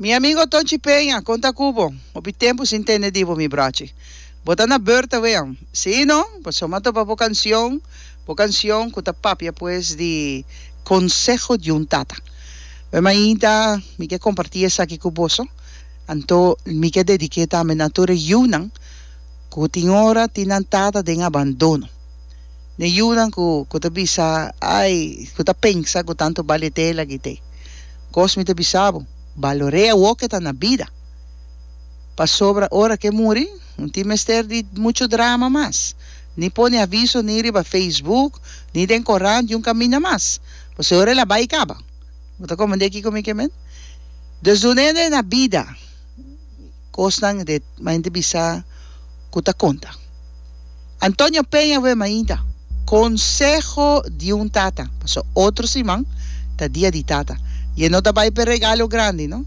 Mi amigo Tonchi Peña, kon ta ku bo? Hopi tempu sin tende di bo, mi brochi. Bo ta na beurt awe? Sí, no? Pasobra mi a topa bo kansion, bo kansion ku ta papia pues di konseho di un tata. Wè mainta mi ke kompartí esaki ku boso, anto mi ke dedik'é tambe na tur e yunan ku tin ora tin nan tata den abandono. Ne yunan ku ku ta bisa, ai, ku ta pensa ku tantu bale tela ki te. Kos mi ta bisa bo, balor'é awor ke ta na bida. Pasobra ora ke muri, no tin mester di muchu drama mas. Ni pone aviso ni riba Facebook, ni den korant di un kaminda mas. Pasobra ora el a bai kaba. Bo ta komprendé kiko mi ke men? Dus dun'é na bida kosnan de mente bisa ku ta konta. Antonio Peña we mainta. Conseho di un tata. Paso otro siman ta dia di tata. Y e no ta bay p'e regalo grandi no.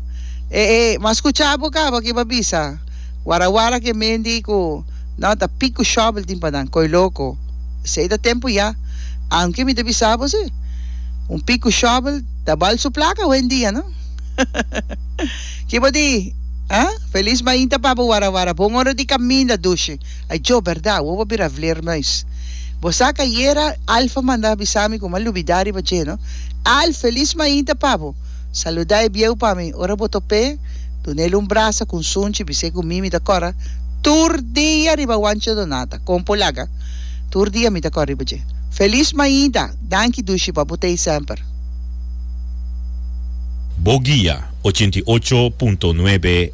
E e m'a scucha bo caba ki bo a bisa. Wara wara ke mendi cu no ta pic cu shovel tin pa nan. Coy loco. Esey ta tempo ya. Aunke mi ta bisa bo si. Un pic cu shovel ta bal su placa hoendia no. Ki bo di? Ah? Feliz mainta pa bo wara wara. Bon ora di caminda dushi. Ay djo berdad, awor bo bira vleermuis. Bo sa cu ayera Alfa manda bisa mi cu m'a lubida riba dje, no? Al, feliz mainta pa bo. Saluda e bieu pa mi. Ora bo top'é, dun'el un brasa cu un sunchi, bis'é cu mi mi ta cora tur dia riba Wancho Donata. Con por laga? Tur dia mi ta cora riba dje. Feliz mainta! Danki dushi pa bo t'ei semper. Bo guia, 88.9.